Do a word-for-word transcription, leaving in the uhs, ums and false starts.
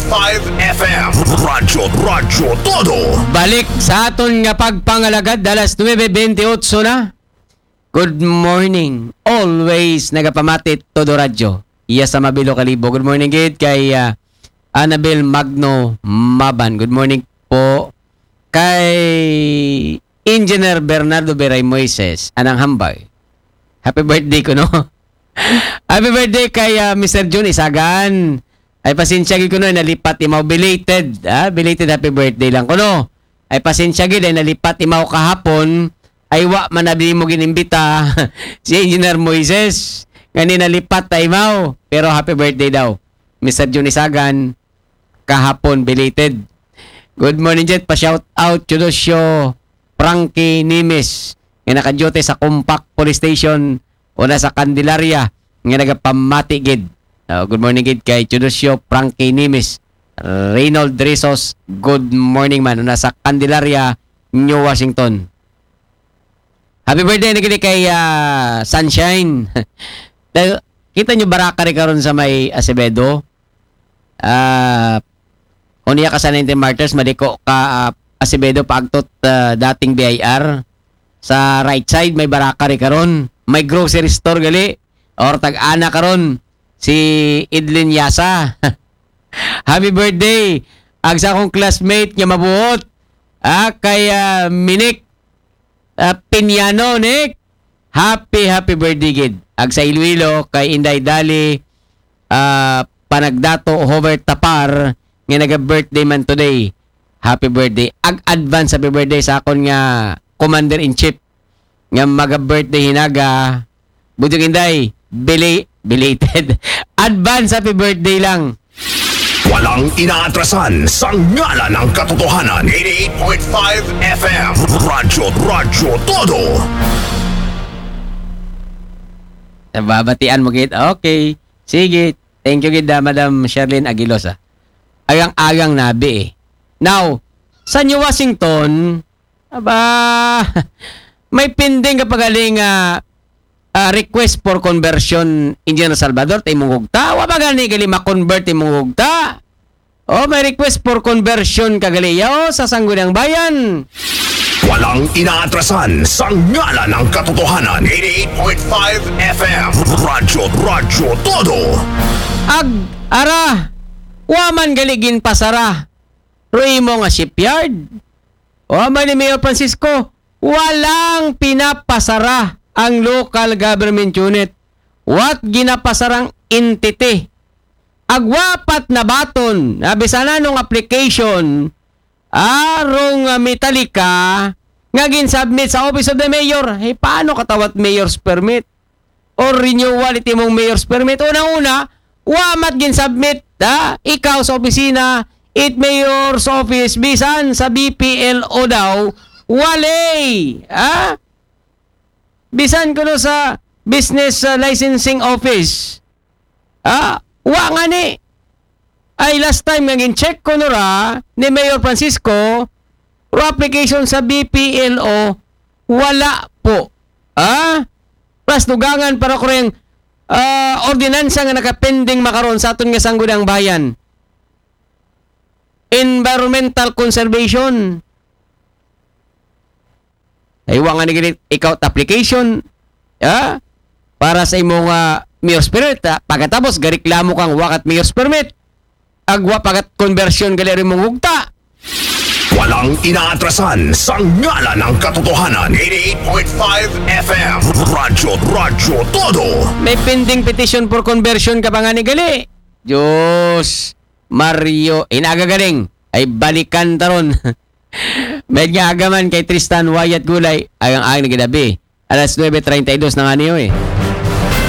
five F M. Radyo, Radyo Todo. Balik sa aton nga pagpangalagad, alas nuebe bentiocho na. Good morning. Always nagapamati Todo Radyo. Iya sa Mabilo Kalibo. Good morning gid kay ah, Annabel Magno Maban. Good morning po kay Engineer Bernardo Beray Moises. Anang hambay. Happy birthday ko, no? Happy birthday kay ah, Mister Jun Isagan. Ay pasensya gid ko, no, ay nalipat imaw, belated. Ah, belated happy birthday lang ko, no? Ay pasensya gid ay nalipat imaw kahapon. Ay wa man na mo ginimbita si Engineer Moises. Ngani nalipat ta imaw. Pero happy birthday daw. Mister Jun Isagan, kahapon belated. Good morning, Jet. Pa-shout out, Chudosyo Frankie Nimes. Nga naka-duty sa Compact Police Station o na sa Candelaria. Nga nagapamati gid. Ah, good morning gid kay Chudosyo Frankie Nimes. Reynold Rizos, good morning man. O na sa Candelaria, New Washington. Happy birthday na gid kay ah, Sunshine. Dahil kita nyo baraka rin karon sa may Acevedo. Ah, unya ka sa ninety Martyrs, madiko ka ah, Acevedo paagtot ah, dating B I R. Sa right side, may baraka rin karon. May grocery store gali. Or tag-ana karon si Idlin Yasa. Happy birthday. Ag sa akong classmate nga mabuot. Ah, kay ah, Minik ah, Piñano, Nick. Happy, happy birthday gid. Ag sa Iloilo, kay Inday Dali, ah, Panagdato, Hover Tapar, nga naga-birthday man today. Happy birthday. Ag advance happy birthday sa akon nga Commander-in-Chief. Nga maga-birthday hinaga. Budjong Inday, bili, belated. Advance happy birthday lang. Walang inaatrasan sa ngalan ng katotohanan. Eighty-eight point five F M. Radyo, Radyo Todo. Nababatian mo gid. Okay. Sige. Thank you gid, ah, Madam Sherlyn Aguilos, ah. Agang-agang nabi eh. Now, sa New Washington, aba, may pending ka pa gali nga ah, request for conversion, Engineer Salvador, ta imong gugta. Wa ba gani gali ma-convert imong gugta? Oh, may request for conversion ka gali, yo, sa Sangguniang Bayan. Walang inaatrasan sa ngalan ng katotohanan. Eighty-eight point five F M. Radyo, Radyo Todo. Ag, ara, wa man gali ginpasara ro imo nga shipyard. O, amay ni Mayor Francisco, walang pinapasara ang local government unit. Wa't ginapasarang entity. Ag wa pa't nabaton, ah, bisan anong application, ah, rong ah, Metallica, nga ginsubmit sa Office of the Mayor. Eh, paano katawat mayor's permit? Or renewal iti mong mayor's permit? Unang-una, wa ma't ginsubmit, ha? Ikaw sa opisina, it mayor's office, bisan sa B P L O daw, wali, ha? Bisan kuno sa business ah, licensing office, ha? Wa ngani. Ay last time nga gin-check ko no ra ni Mayor Francisco, ro application sa B P L O, wala po. Ha? Plus dugangan para ko rin ah, ordinansa nga nakapending makaron sa aton nga Sangguniang Bayan. Environmental conservation. Ay, wa nga ni ikaw application. Ha? Para sa imong ah, mayor's permit. Ha? Pagkatapos, gareklamo kang wa ka't mayor's permit. Ag wa pa ka't conversion gali ri mong gugta. Walang inaatrasan sa ngalan ng katotohanan. Eighty-eight point five F M. Radyo, Radyo Todo. May pending petition for conversion ka pa nga ni gali. Diyos, Mario, inaga galing. Ay balikan taron. Med nga agaman kay Tristan Wyatt Gulay, ay ang ang naginabi. Alas nuebe treinta y dos na nga niyo eh.